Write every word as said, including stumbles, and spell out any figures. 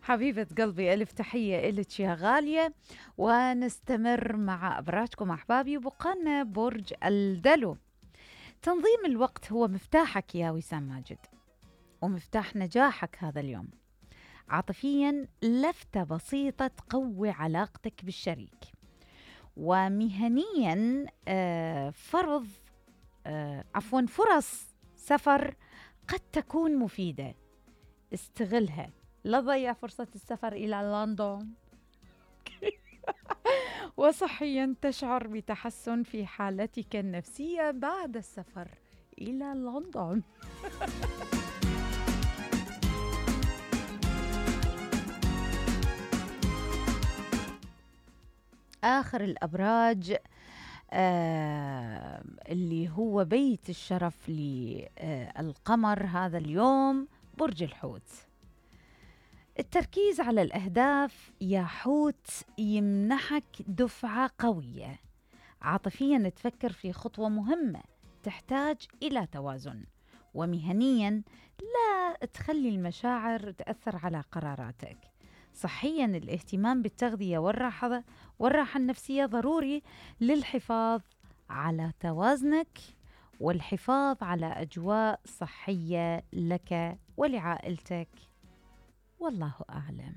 حبيبة قلبي، ألف تحية إلك يا غالية. ونستمر مع أبراجكم أحبابي، وبقالنا برج الدلو. تنظيم الوقت هو مفتاحك يا وسام ماجد، ومفتاح نجاحك هذا اليوم. عاطفياً لفتة بسيطة تقوي علاقتك بالشريك. ومهنياً آه فرض آه عفواً فرص سفر قد تكون مفيدة، استغلها. لا تضيع فرصة السفر إلى لندن. وصحياً تشعر بتحسن في حالتك النفسية بعد السفر إلى لندن. آخر الأبراج آه اللي هو بيت الشرف للقمر هذا اليوم برج الحوت. التركيز على الأهداف يا حوت يمنحك دفعة قوية. عاطفياً تفكر في خطوة مهمة تحتاج إلى توازن. ومهنياً لا تخلي المشاعر تأثر على قراراتك. صحياً الاهتمام بالتغذية والراحة والراحة النفسية ضروري للحفاظ على توازنك والحفاظ على أجواء صحية لك ولعائلتك. والله أعلم.